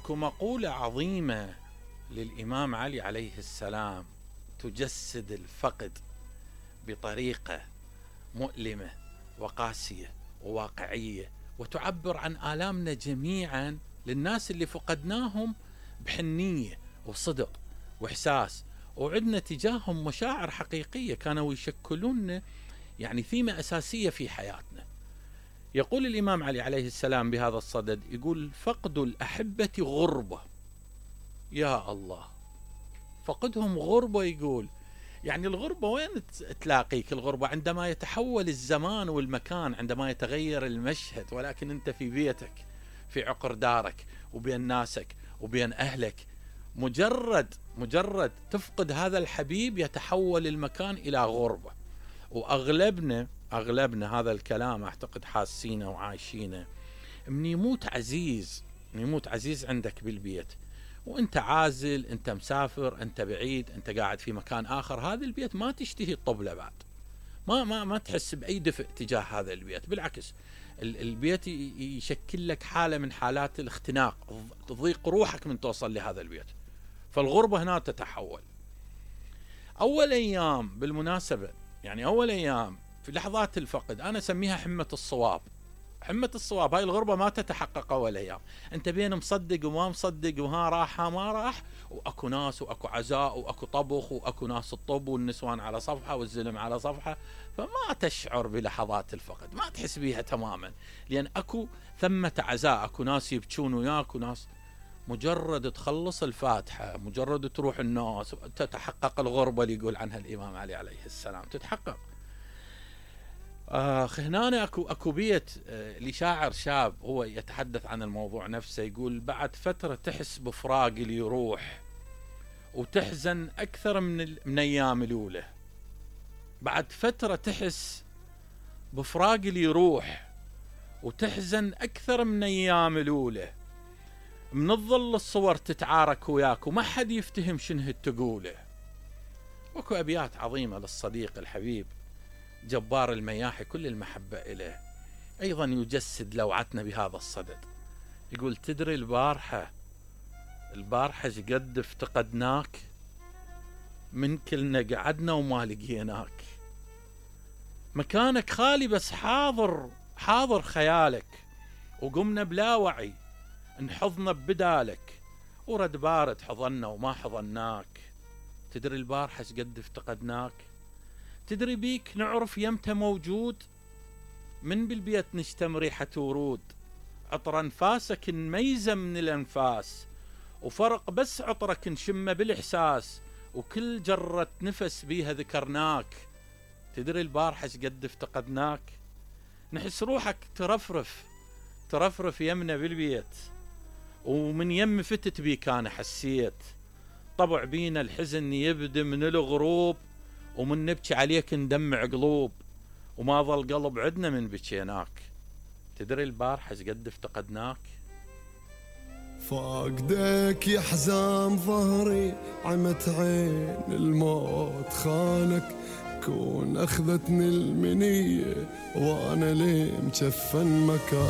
اكو مقولة عظيمة للإمام علي عليه السلام تجسد الفقد بطريقة مؤلمة وقاسية وواقعية، وتعبر عن آلامنا جميعا للناس اللي فقدناهم بحنية وصدق وإحساس، وعدنا تجاههم مشاعر حقيقية كانوا يشكلون يعني ثيمة أساسية في حياتنا. يقول الإمام علي عليه السلام بهذا الصدد، يقول: فقد الأحبة غربة. يا الله، فقدهم غربة. يقول يعني الغربة وين تلاقيك؟ الغربة عندما يتحول الزمان والمكان، عندما يتغير المشهد، ولكن أنت في بيتك، في عقر دارك، وبين ناسك وبين أهلك. مجرد تفقد هذا الحبيب يتحول المكان إلى غربة. وأغلبنا هذا الكلام أعتقد حاسينه وعايشينه. من يموت عزيز عندك بالبيت، وانت عازل، انت مسافر، انت بعيد، انت قاعد في مكان آخر، هذا البيت ما تشتهي الطبلة بعد، ما تحس بأي دفء تجاه هذا البيت. بالعكس، البيت يشكل لك حالة من حالات الاختناق، تضيق روحك من توصل لهذا البيت. فالغربة هنا تتحول. أول أيام بالمناسبة، يعني أول أيام في لحظات الفقد أنا أسميها حمة الصواب. هاي الغربة ما تتحقق أول أيام، أنت بين مصدق وما مصدق، وها راح ما راح، وأكو ناس وأكو عزاء وأكو طبخ وأكو ناس الطب والنسوان على صفحة والزلم على صفحة، فما تشعر بلحظات الفقد، ما تحس بيها تماما، لأن أكو ثمة عزاء، أكو ناس يبكون وياك وناس. مجرد تخلص الفاتحة، مجرد تروح الناس، تتحقق الغربة اللي يقول عنها الإمام علي عليه السلام، تتحقق. هنا أكو بيت لشاعر شاب هو يتحدث عن الموضوع نفسه، يقول: بعد فترة تحس بفراق اللي يروح وتحزن أكثر من أيام الأولى. بعد فترة تحس بفراق اللي يروح وتحزن أكثر من أيام الأولى. من الظل الصور تتعارك وياك وما حد يفتهم شنو تقوله. وكو أبيات عظيمة للصديق الحبيب جبار المياحي كل المحبة إليه، أيضا يجسد لوعتنا بهذا الصدد. يقول: تدري البارحة شقد افتقدناك، من كلنا قعدنا وما لقيناك، مكانك خالي بس حاضر خيالك، وقمنا بلا وعي انحضنا ببدالك، ورد بارد حضنا وما حضناك. تدري البارحة شقد افتقدناك، تدري بيك نعرف يمتى موجود، من بالبيت نشتم ريحة ورود، عطر انفاسك نميزه من الانفاس، وفرق بس عطرك نشمه بالاحساس، وكل جرة نفس بيها ذكرناك. تدري البارحة شقد افتقدناك، نحس روحك ترفرف يمنا بالبيت، ومن يم فتت بيك انا حسيت، طبع بينا الحزن يبدي من الغروب، ومن نبكي عليك ندمع قلوب، وما ظل قلب عدنا من بكيناك. تدري البارحة شقد افتقدناك. فاقدك يا حزام ظهري، عمت عين الموت خانك، كون اخذتني المنية وانا ليه مجفن مكان.